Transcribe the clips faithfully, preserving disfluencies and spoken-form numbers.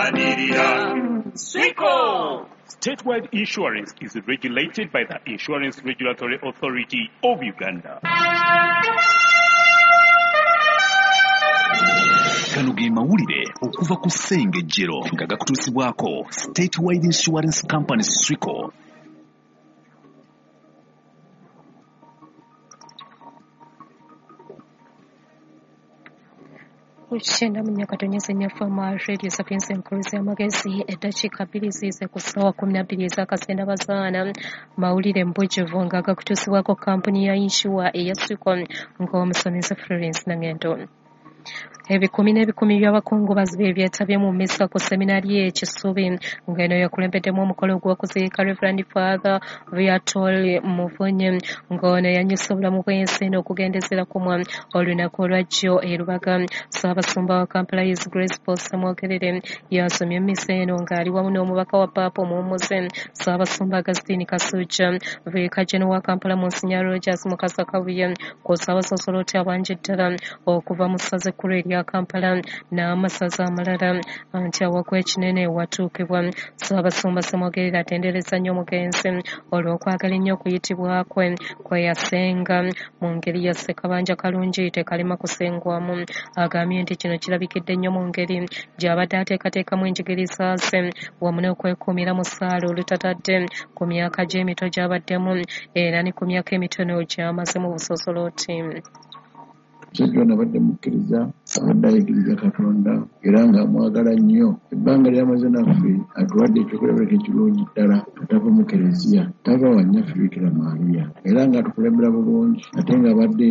Tulwanirira Swico. Statewide Insurance is regulated by the Insurance Regulatory Authority of Uganda. Gano ge mawulire okuva ku Ssengejjero nga gakutuusibwako Statewide Insurance Company Swico. Kukyenda mu Nyakatonyeze Nyafama Radio Sapiens Enkuluzi y'amagezi eddakiika bbiri ziize ku ssaawa kkumi na bbiri ez'akasenda bazaana. Mawulire mbujjuvu nga gakutuusibwako kampuni ya yinsuwa eya Swico ng'omusomesa Florence Nangendo. Ebikumi n'ebikumi by'abakungubazi be byetabye mu mmisa ku seminari e Kisubi ng'eno yakulembeddemu omukolo gw'okuziika Reverend Father Viator Muvunyi ng'ono yanyusa obulamu bw'ensi eno okugendezera kumwa olunaku olwajjo e Lubaga. Ssaabasumba wa Kampala His Grace Paul Ssemwogerere yasomye emmisa eno ng'ali wamu n'omubaka wa Paapa omuwummuze Ssaabasumba Augustine Kasujja, Viika General wa Kampala Monsignor Rogers Mukasa Kabuye kw'ossa abasosoloti abangi ddala okuva mu ssaza ekkulu erya Kampala n'amasaza amalala anti awakwa ekinene watuukibwa. Ssaabasumba Ssemwogerere atendereza nnyo omugenzi olw'okwagala ennyo okuyitibwa kwe kwe yasenga mu ngeri ya Ssekabanja Kalungi tekalema kusengwamu. Agambye nti kino kirabikidde nnyo mu ngeri gy'abadde ateekateekamu enjigiriza ze wamu n'okwekuumira mu ssaala olutatadde ku myaka gy'emito gy'abaddemu era ne ku myaka emitono gy'amaze mu busosoloti. Omusajja ono abadde mukkiriza, abadde ayigiriza Katonda era ng'amwagala nnyo. Ebbanga ly'amaze naffe atuwadde ekyokulabirako ekirungi ddala, atava mu kereziya, tava wa nnyaffe Bikira Maria, era ng'atukulembera bulungi ate ng'abadde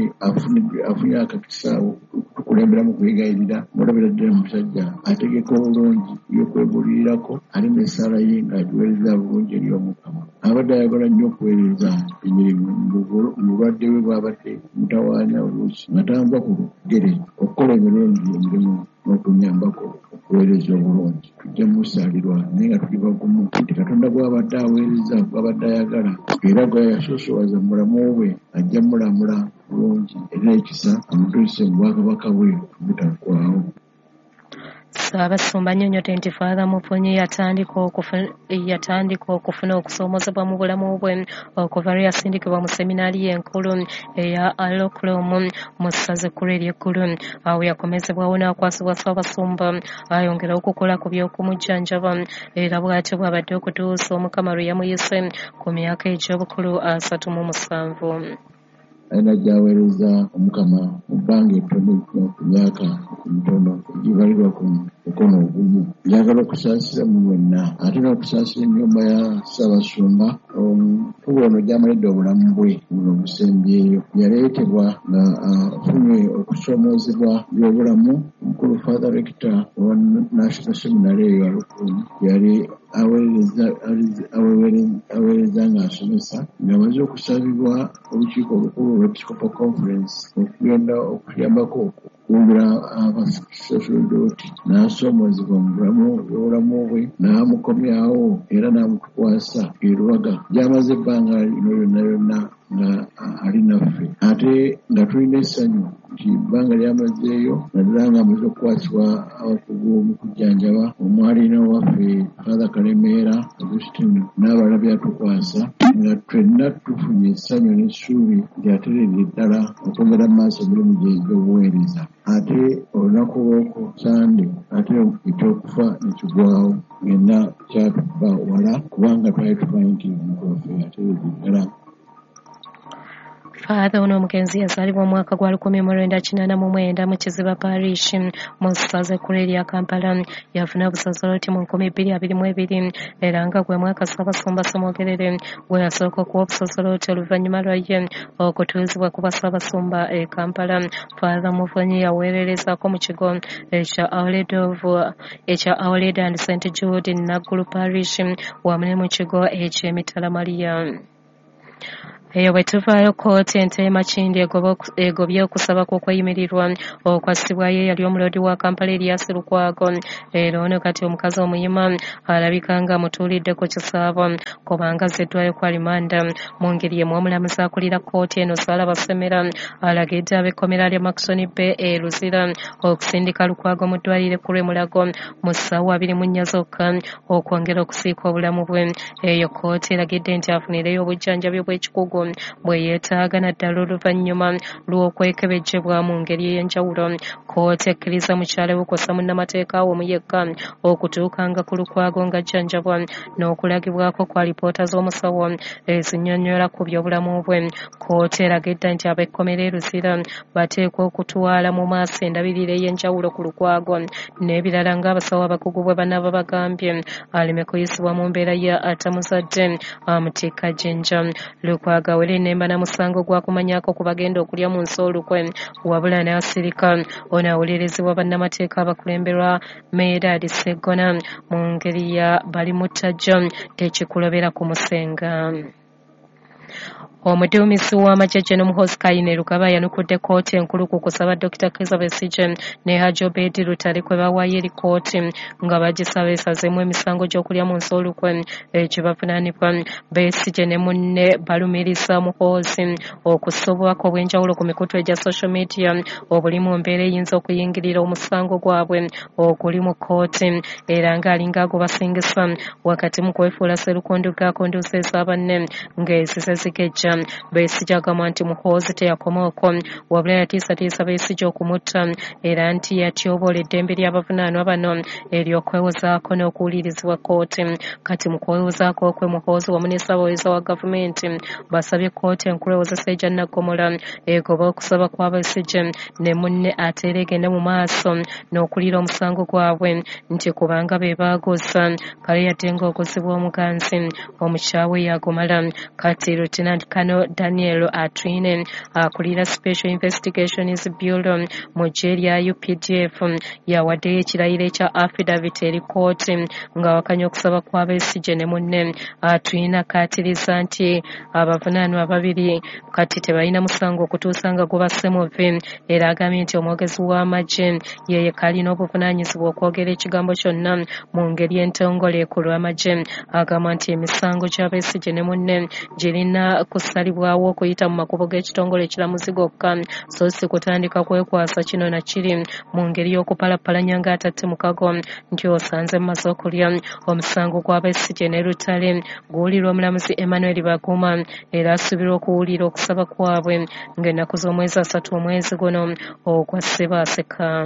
afunye akakisa okutukulembera mu kwegayirira. Mulabira ddala musajja ategeka obulungi ebyokwebuulirirako, ali n'essaala ye ng'agiweereza bulungi eri Omukama. Abadde ayagala nnyo okuweereza emirimu mu bulwadde bwe bw'abadde mutawaanya oluusi nga tanva ku lugere okukola emirundi emirimu n'okunyambako okuweereza obulungi. Tujja musaalirwa naye nga tuli bagumu nti Katonda gw'abadde aweereza, gw'abadde ayagala era gwe yasoosowaza mu bulamu bwe ajja mulamula bulungi era ekisa amutuuse mu bwakabaka bwe obutaggwaawo. Ssaabasumba annyonnyodde nti Father Muvunyi yatandika okufuna yatandika okufuna okusoomoozebwa mu bulamu bwe okuva lwe yasindikibwa mu seminaari enkulu eya Alokulum mu ssaza ekkulu ery'Eggulu. Awo yakomezebwawo n'akwasibwa Ssaabasumba ayongere okukola ku by'okumujjanjaba era bw'atyo bw'abadde okutuusa Omukama lwe yamuyise ku myaka egy'obukulu asatu mu musanvu. Alina gy'aweereza Omukama mu bbanga ettono ennyo, ku myaka emitono egibalirwa ku mukono ogumu. Njagala okusaasira mu mwenna ate n'okusaasira ennyumba ya Ssaabasumba omukulu ono gy'amalidde obulamu bwe buno obusembyeyo. Yaleetebwa nga afunye okusoomoozebwa by'obulamu. Omukulu Father Rector owa National Seminary eyo Alokulum yali aweereza ng'asomesa ng'amaze okusabibwa olukiiko olukulu olw'Episcopal Conference okugenda okuyambako okuwumbira abasosoloti n'asoomoozebwa mu bulamu obulamu bwe n'amukomyawo era n'amutukwasa e Lubaga gy'amaze ebbanga lino lyonna lyonna nga ali naffe ate nga tulina essanyu nti ebbanga lyamazeeyo naddala ng'amaze okukwasibwa abakugu mu kujjanjaba omwalina waffe Father Kalemeera Augustine n'abalala byatukwasa nga ffenna tufunye essanyu n'essuubi nti atereere ddala okwongera mu maaso emirimu gye egy'obuweereza. Ate olunaku lw'oku Sande ate ekyokufa ne kigwawo ng'enna kyatuba wala kubanga twali tumanyi nti omuntu waffe atereere ddala. Father ono omugenzi yazaalibwa omwaka gwa lukumi mu lwenda kinaana mu mwenda mu Kiziba Parish mu ssaza ekkulu erya Kampala. Yafuna obusosoloti mu nkumi bbiri abiri mu ebiri era nga gwe mwaka Ssaabasumba Ssemwogerere gwe yasooka okuwa obusosoloti oluvannyuma lwa ye okutuuzibwa ku Bassaabasumba e Kampala. Father Muvunyi yaweererezaako mu kigo ekya Our Lady of ekya Our Lady and Saint Jude Naggulu Parish wamu ne mu kigo eky'Emitala Maria. Eyo bwe tuvaayo, kkooti ento e Makindye egobye okusaba kw'okweyimirirwa okwassibwayo eyali omuloodi wa Kampala Erias Lukwago. Era ono kati omukazi omuyima alabika nga amutuulidde ku kisaabo kubanga azziddwayo ku alimanda. Mu ngeri emu, omulamuzi akulira kkooti eno Sarah Basemera alagidde ab'ekkomera lya Murchison Bay e Luzira okusindika Lukwago mu ddwaliro ekkulu e Mulago mu ssaawa abiri mu nnya zokka okwongera okusiika obulamu bwe. Eyo kkooti eragidde nti afunireyo obujjanjabi bw'ekikugu bwe yeetaaga naddala oluvannyuma lw'okwekebejjebwa mu ngeri ey'enjawulo. Kkooti ekkiriza mukyala we kw'ossa munnamateeka we omu yekka okutuukanga ku Lukwago ng'ajjanjabwa n'okulagibwako kwa alipoota z'omusawo ezinnyonnyola ku byobulamu bwe. Kkooti eragidde nti ab'ekkomera e Luzira bateekwa okutwala mu maaso endabirira ey'enjawulo ku Lukwago n'ebirala ng'abasawo abakugu bwe banaaba bagambye, aleme kuyisibwa mu mbeera ya atamuzadde amutikka jjinja. Lukwago awere nemba na musango gwa kumanyako ku bagenda okulya mu nsi olukwe, wabula n'asirika. Ono awolerezebwa bannamateeka abakulemberwa Medard Sseggona mu ngeri ya balimuttajjo tekikulobera kumusenga. Omuduumizi w'amagye Gen Muhoozi Kainerugaba yanukudde kkooti enkulu ku kusaba Dokita Kizza Besigye ne Hajji Obeid Lutale kwe bawaayo eri kkooti nga bagisaba esazeemu emisango gy'okulya mu nsi olukwe ekibavunaanibwa. Besigye ne munne balumiriza Muhoozi okussa obubaka obw'enjawulo ku mikutu egya social media obuli mu mbeera eyinza okuyingirira omusango gwabwe oguli mu kkooti, era ng'alinga agubasingisa wakati mu kwefuula sserukondu gaakonduusa eza banne ng'ezise zigejja. Besigye agamba nti Muhoozi teyakoma okwo, wabula yatiisatiisa Besigye okumutta, era nti yatyoboola eddembe ly'abavunaanwa bano ery'okwewozaako n'okuwulirizibwa kkooti. Kati mu kwewozaako kwe, Muhoozi wamu ne ssaabawolereza wa gavumenti basabye kkooti enkulu ewozesa egya Naggomola egobe okusaba kwa Besigye ne munne ate era egende mu maaso n'okulira omusango gwabwe nti kubanga be baaguza kale yadde ng'oguzibwa omuganzi omukyawe yagumala. Kati Lieutenant Colonel Daniel Atwine akulira Special Investigations Bureau mu ggye lya U P D F yawaddeyo ekirayiro ekya affidavit eri kkooti ng'awakanya okusaba kwa Besigye ne munne. Atwine akaatiriza nti abavunaanwa ababiri kati tebalina musango okutuusa nga gubasse muvi, era agambye nti omwogezi w'amagye ye yekka alina obuvunaanyizibwa okwogera ekigambo kyonna mu ngeri entongole ku lw'amagye. Agamba nti emisango gya Besigye ne munne girina kusalibwawo okuyita mu makubo g'ekitongole ekiramuzi gokka, so si kutandika kwekwasa kino na kiri mu ngeri y'okupalapalanya ng'atatte mukago nti osanze mumaze okulya. Omusango gwa Besigye ne Lutale guwulirwa omulamuzi Emmanuel Baguma era asuubirwa okuwulira okusaba kwabwe ng'ennaku z'omwezi asatu omwezi guno ogwa Ssebaaseka.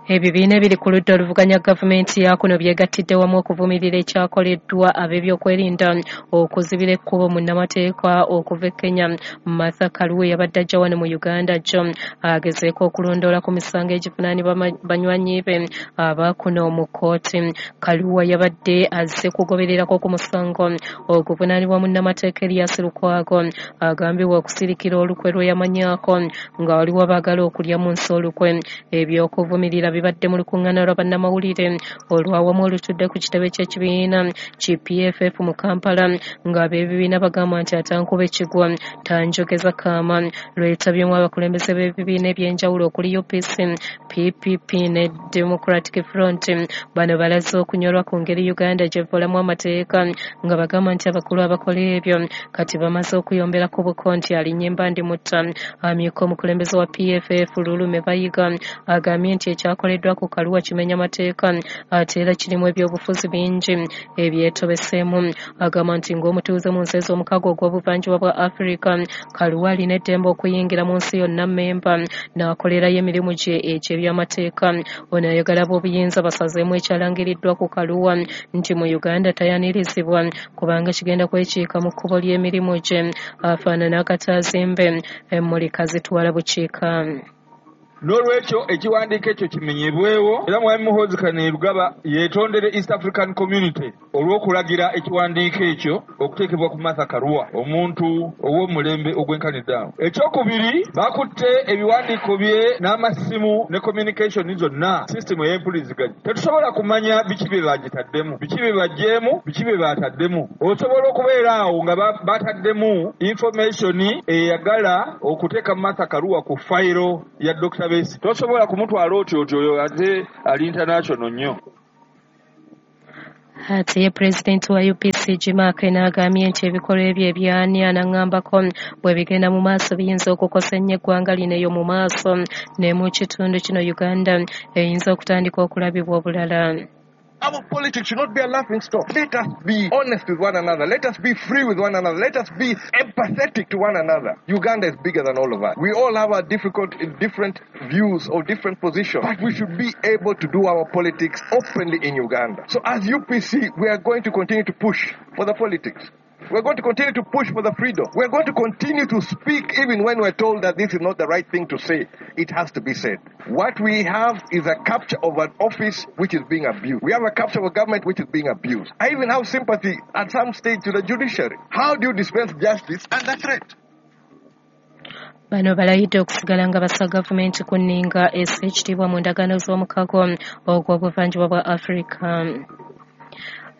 Ebibiina ebiri ku ludda oluvuganya gavumenti ya kuno byegattidde wamu okuvumirira ekyakoleddwa ab'ebyokwerinda okuzibira ekkubo munnamateeka okuva e Kenya Martha Karua yabadde ajja wano mu Uganda jjo agezeeko okulondoola ku misango egivunaanibwa banywanyi be abakuno mu kkooti. Karua yabadde azze kugobererako ku musango oguvunaanibwa munnamateeka Erias Lukwago agambibwa okusirikira olukwe lwe yamanyaako nga waliwo abaagala okulya mu nsi olukwe. Ebyokuvumirira bibadde mu lukuŋŋaana lwa bannamawulire olwawamu olutudde ku kitebe ky'ekibiina ki P F F mu Kampala ng'ab'ebibiina bagamba nti atankuba ekigwa tanjogeza kaama. Lwetabyemu abakulembeze b'ebibiina eby'enjawulo okuli U P C, P P P ne Democratic Front. Bano balaze okunyolwa ku ngeri Uganda gy'evolamu amateeka nga bagamba nti abakulu abakola ebyo kati bamaze okuyombera ku buko nti alinnya embandi mutta. Amyuka omukulembeze wa P F F Lulume Bayiga agambye nti ekyakoleddwa ku Karua kimenya mateeka ate era kirimu ebyobufuzi bingi ebyetobeseemu. Agamba nti ng'omutuuze mu nsi ez'omukago ogw'obuvanjuba bwa Afrika, Karua alina eddembe okuyingira mu nsi yonna mmemba n'akolerayo emirimu gye egy'ebyamateeka. Ono ayagala b'obuyinza basazeemu ekyalangiriddwa ku Karua nti mu Uganda tayanirizibwa kubanga kigenda kwekiika mu kkubo ly'emirimu gye afaanana akataazimbe emmulika zitwala bukiika. N'olwekyo ekiwandiiko ekyo kimenyebwewo, era Mwami Muhoozi Kainerugaba yeetondere East African Community olw'okulagira ekiwandiiko ekyo okuteekebwa ku Martha Karua, omuntu ow'omulembe ogwenkanidde awo. Ekyokubiri, bakutte ebiwandiiko bye n'amasimu ne communication zonna, system ey'empuliziganya. Tetusobola kumanya biki bye bagitaddemu, biki bye baggyeemu, biki bye bataddemu. Osobola okubeera awo nga bataddemu information eyagala okuteeka Martha Karua ku fayiro ya Doctor Besigye. Tosobola kumutwala otyo otyo oyo ate ali international nnyo. Ate ye pulezidenti wa U P C G Mark n'agambye nti ebikolwa ebyo ebyani anaŋŋambako bwe bigenda mu maaso biyinza okukosa ennyo eggwanga lino eyo mu maaso ne mu kitundu kino Uganda eyinza okutandika okulabibwa obulala. Our politics should not be a laughing stock. Let us be honest with one another. Let us be free with one another. Let us be empathetic to one another. Uganda is bigger than all of us. We all have our difficult, different views or different positions. But we should be able to do our politics openly in Uganda. So as U P C, we are going to continue to push for the politics. We're going to continue to push for the freedom. We're going to continue to speak even when we're told that this is not the right thing to say. It has to be said. What we have is a capture of an office which is being abused. We have a capture of a government which is being abused. I even have sympathy at some stage to the judiciary. How do you dispense justice under threat? Bano balayidde okusigala nga bassa gavumenti ku nninga essa ekitiibwa mu ndagaano z'omukago ogw'obuvanjuba bwa Afrika.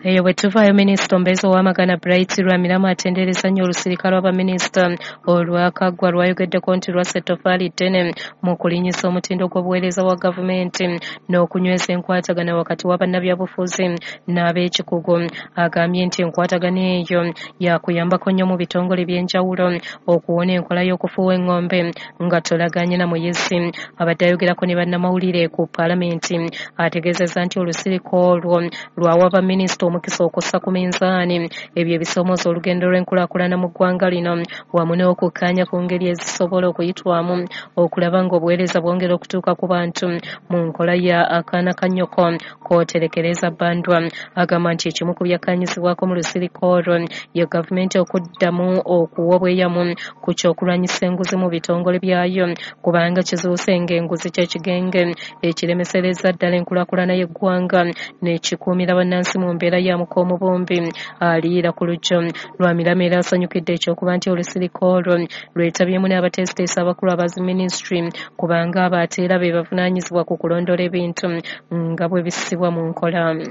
Eyo bwe tuvaayo, minisita omubeezi ow'amagana Bright Rwamirama atendereza nnyo olusirika lw'abaminisita olwakaggwa lwayogeddeko nti lwassa ettoffaali ddene mu kulinnyisa omutindo gw'obuweereza bwa gavumenti n'okunyweza enkwatagana wakati wa bannabyabufuzi n'ab'ekikugu. Agambye nti enkwatagana eyo yakuyambako nnyo mu bitongole by'enjawulo okuwona enkola y'okufuuwa eng'ombe nga tolaganye na muyisi. Abadde ayogerako ne bannamawulire ku paalamenti ategeezezza nti olusirika olwo lwawa baminisita omukisa okussa ku minzaani ebyo ebisoomooza olugendo lw'enkulaakulana mu ggwanga lino wamu n'okukkaanya ku ngeri ezisobola okuyitwamu okulaba ng'obuweereza bwongera okutuuka ku bantu mu nkola ya akaana ka nnyoko kooterekereza bbandwa. Agamba nti ekimu ku byakkaanyizibwako mu lusirika olwo ye gavumenti okuddamu okuwa obweyamu ku ky'okulwanyisa enguzi mu bitongole byayo kubanga kizuuse ng'enguzi ky'ekigenge ekiremesereza ddala enkulaakulana y'eggwanga n'ekikuumira bannansi mu mbeera ya mukoomubumbi aliira ku lujjo. Rwamirama era asanyukidde ekyokuba nti olusirika olwo lwetabyemu n'abateesiteesi abakulu aba minisitule kubanga abo ate era be bavunaanyizibwa ku kulondoola ebintu nga bwe bissibwa mu nkola.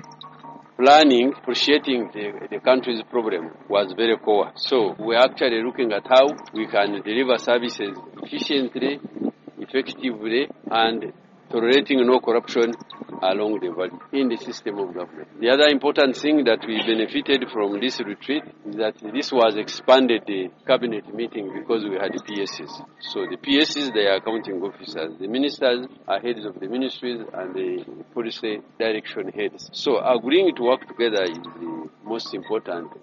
Planning, appreciating the, the country's problem was very poor. So we're actually looking at how we can deliver services efficiently, effectively, and tolerating no corruption along the valley in the system of government. The other important thing that we benefited from this retreat is that this was expanded the cabinet meeting because we had P Ss. So the P Ss, they are accounting officers. The ministers are heads of the ministries and the policy direction heads. So agreeing to work together is the most important.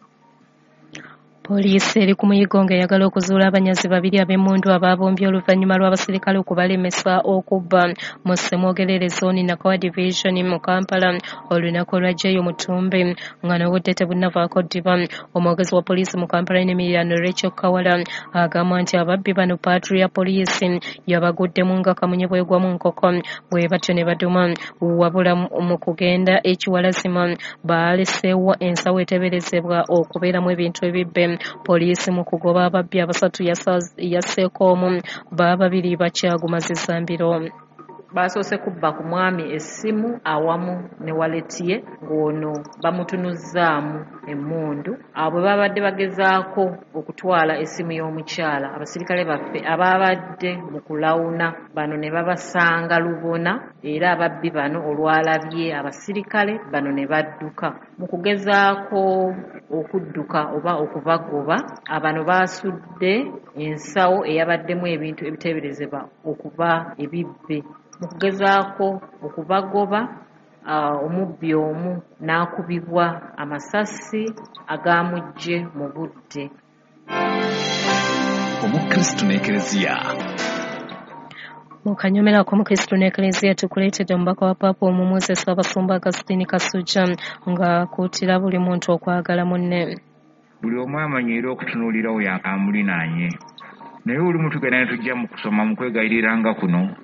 Poliisi eri ku muyiggo ng'eyagala okuzuula abanyazi babiri ab'emmundu abaabombye oluvannyuma lw'abasirikale okubalemesa okubba mu Ssemwogerere zooni Nakawa Division mu Kampala olunaku olw'aggyeyo mu ttumbi nga n'obudde tebunnavaako ddiba. Omwogezi wa poliisi mu Kampala n'emiriraano Rachel Kawala agamba nti ababbi bano patrol ya poliisi yabaguddemu nga kamunye bwegwa mu nkoko bwe batyo ne baduma, wabula mu kugenda ekiwalazima baaleseewo ensawo eteeberezebwa okubeeramu ebintu ebibbe. Poliisi mu kugoba ababbi abasatu yasseeko omu, bababiri bakyagumazizza mbiro. Basoose kubba ku mwami essimu awamu ne waleti ye ng'ono bamutunuzzaamu emmundu. Abo bwe babadde bagezaako okutwala essimu y'omukyala, abasirikale baffe ababadde mu kulawuna bano ne babasanga lubona, era ababbi bano olwalabye abasirikale bano ne badduka. Mu kugezaako okudduka oba okubagoba, abano baasudde ensawo eyabaddemu ebintu ebiteeberezebwa okuba ebibbe. Mu kugezaako okubagoba, omubbi omu n'akubibwa amasasi agamuggye mu budde. Omukristu n'Ekereziya. Mu kanyomero ak'Omukristu n'Ekereziya tukuleetedde omubaka wa Paapa Omumwezi Ssaabasumba Augustine Kasujja ng'akuutira buli muntu okwagala munne. Buli omu amanyiire okutunuulira oyo amulinaanye, naye olumu tugenda ne tujja mu kusoma mu kwegayiriranga kuno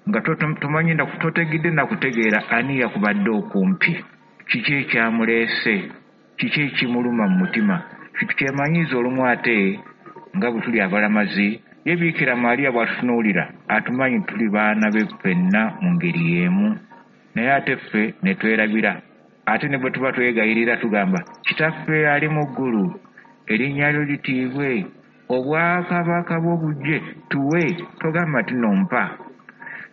Nga tomanyi totegedde nakutegeera ani yakubadde okumpi, kiki ekyamuleese, kiki ekimuluma mu mutima. Kyemanyiiza olumu ate nga bwe tuli abalamazi, ye Biikira Maria bw'atutunuulira atumanyi tuli baana be ffenna mu ngeri y'emu, naye ate ffe ne twerabira. Ate ne bwe tuba twegayirira tugamba, Kitaffe ali mu ggulu, erinnya lyo litiibwe, obwakabaka bwo bujje, tuwe, togamba nti nno mpa.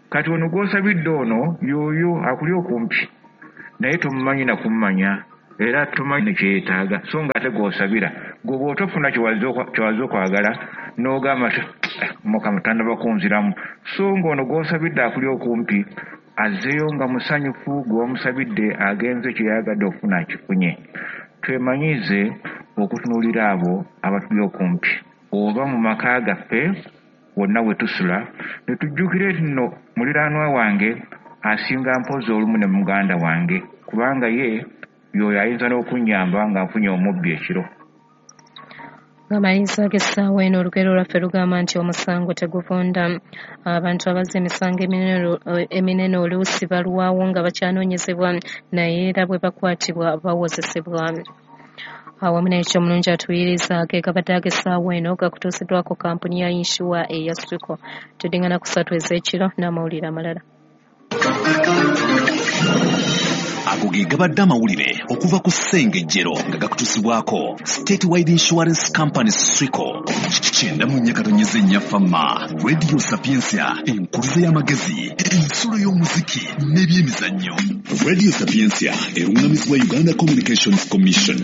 Kati ono gw'osabidde ono y'oyo akuli okumpi, naye tomumanyi na kummanya, era tomanyi ne kye yeetaaga, so nga ate gw'osabira gwe bw'otofuna kye wazze okwagala n'ogamba nti Mukama tannaba kunziramu, so ng'ono gw'osabidde akuli okumpi azzeeyo nga musanyufu, gwe wamusabidde agenze kye yayagadde okufuna akifunye. Twemanyiize okutunuulira abo abatuli okumpi, oba mu maka gaffe wonna we tusula, ne tujjukire nti nno muliraanwa wange asinga mpozi olumu ne muganda wange, kubanga ye y'oyo ayinza n'okunnyamba nga nfunye omubbi ekiro. Ng'amaliriza g'essaawa eno, olugero lwaffe lugamba nti omusango teguvunda. Abantu abazza emisango eminene oluusi balwawo nga bakyanoonyezebwa, naye era bwe bakwatibwa bawozesebwa. Awamu n'ekyo omulungi atuyiriza ge gabadde ag'essaawa eno, gakutuusiddwako kampuni ya yinsuwa eya Swico. Tuddingana ku ssatu ez'ekiro n'amawulire amalala. Ago ge gabadde amawulire okuva ku Ssengejjero nga gakutuusibwako Statewide Insurance Company Swico. Kyenda mu nnya katonyeza ennya Fama Radio Sapientia, enkuluze y'amagezi, ensulo y'omuziki n'ebyemizannyo. Radio Sapientia eruŋŋamizibwa Uganda Communications Commission.